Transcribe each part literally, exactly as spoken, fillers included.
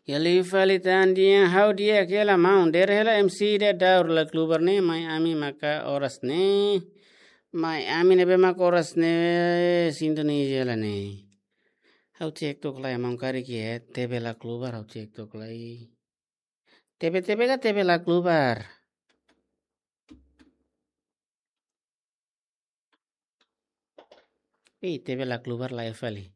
Iha liu fali tan di'ak, ha'u di'ak hela maun, dehan hela M C ida Daur la klubar ne'e, mai ami maka oras ne'e. Mai ami ne'ebé maka oras ne'e sintonia hela ne'e. Ha'u cek tok lai maun, karik iha T V la klubar, ha'u cek tok lai. T V, T V ka T V la klubar. Ih, T V la klubar lai fali.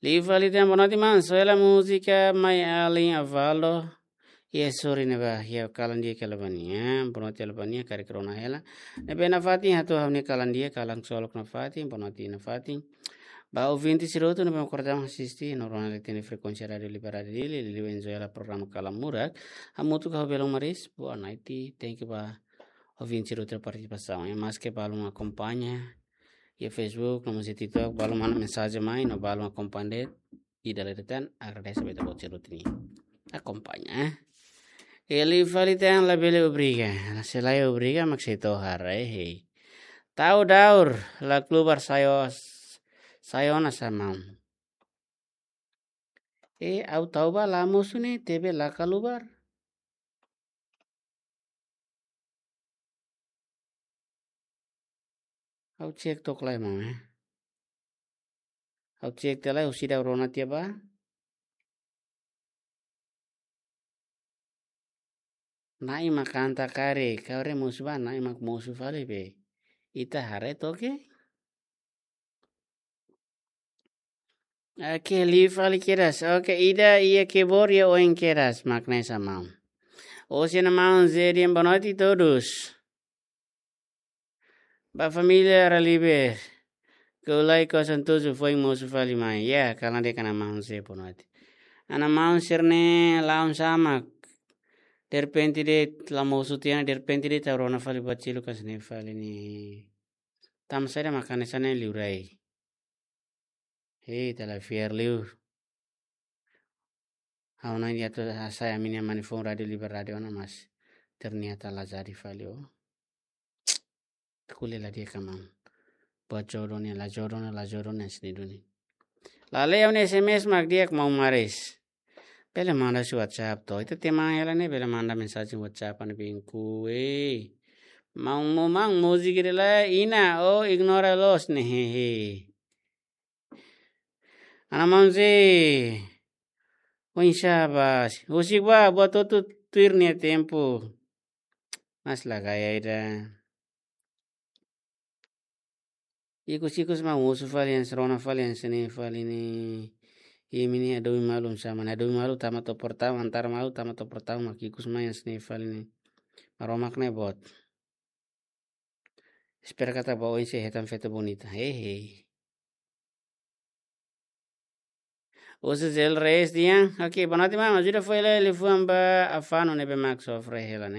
Liu fali tan, boa noite maun, só hela múzika Mai Alin Avaldo. Iha Sori ne'ebá, iha kalan di'ak hela ba nia, boa noite hela ba nia, karik rona hela. Ne'ebé nafatin hato'o ha'u-nia kalan di'ak, kalan ksolok nafatin, boa noite nafatin. Ba ouvinte sira hotu ne'ebé mak kordaun asiste, no rona leten frekuénsia Rádiu Liberdade Dili, liuliu enjoy hela programa Kalan Murak. Hamutuk ho Belon Maris, boa noite, thank you ba ouvinte sira hotu partisipasaun. Maske balun akompaña iha Facebook, no mós iha TikTok, balun manda mensajen mai, no balun akompaña de'it ida-ne'e de'it tan, agradese ba ita-boot sira hotu ne'ebé akompaña, eh. Liu fali tan, labele obriga. Se la obriga, mak sei tohar, eh, hei. Tau Daur, la klubar sai ona, sai ona sá maun. Eh, ha'u tau ba la mosu ne'e, T V la klubar. Ha'u cek tok lai maun, eh. Ha'u cek tiha lai, husi ida rona tiha ba. Na'i mak kanta karik, karik mosu ba, na'i mak mosu fali be. Ita haree toke. Oke, liu fali kedas. Oke, ida iha keyboard iha oin kedas, mak ne'e sá maun. Osin maun Zé dehan boa noite todos. Ba família Raliber. Kau lai kosan tuju foin mosu fali mai. Ya, kalan de'it ana maun Zé boa noite. Ana maun sira-ne'e la'o sá mak. Derrepente de'it la mosu tiha ona, derrepente de'it tau rona fali buat seluk hanesan ne'e fali ne'e. Tanba saida mak hanesan ne'e liurai. Hei, ita la fiar liu. Ha'u-nia atu hasai ami-nia mani foun Rádiu Liberdade ona mas ternyata la jadi fali o. Ko'alia la di'ak ka maun. Buat jodoh ne'e la jodoh ne'e, la jodoh ne'e sini duni. La lee ha'u-nia S M S mak di'ak maun Maris. Bele manda husi WhatsApp to. Ita teman hela ne'e bele manda mensajen WhatsApp an binku, eh. Maun mo maun múzika ida la iha o ignora loos ne'e, hehe. Ana maun Zé. Oinsá ba. Husik ba, buat hotu tuir nia tempu. Mas la gaya ida. Ikus-ikus mak mosu fali hanesan rona fali hanesan ne'e fali ne'e. Imi-nia domin malu sá mak, domin malu tama to'o portaun, antar malu tama to'o portaun mak ikus mai hanesan ne'e fali ne'e. Maromak ne'e boot. Espera katak ba oin sei hetan feto bonita. Hehe. Usa gel reis dia. Oke, boa noite maun. Ajuda fó hela liafuan ba afanu ne'ebé mak sofre hela ne'e.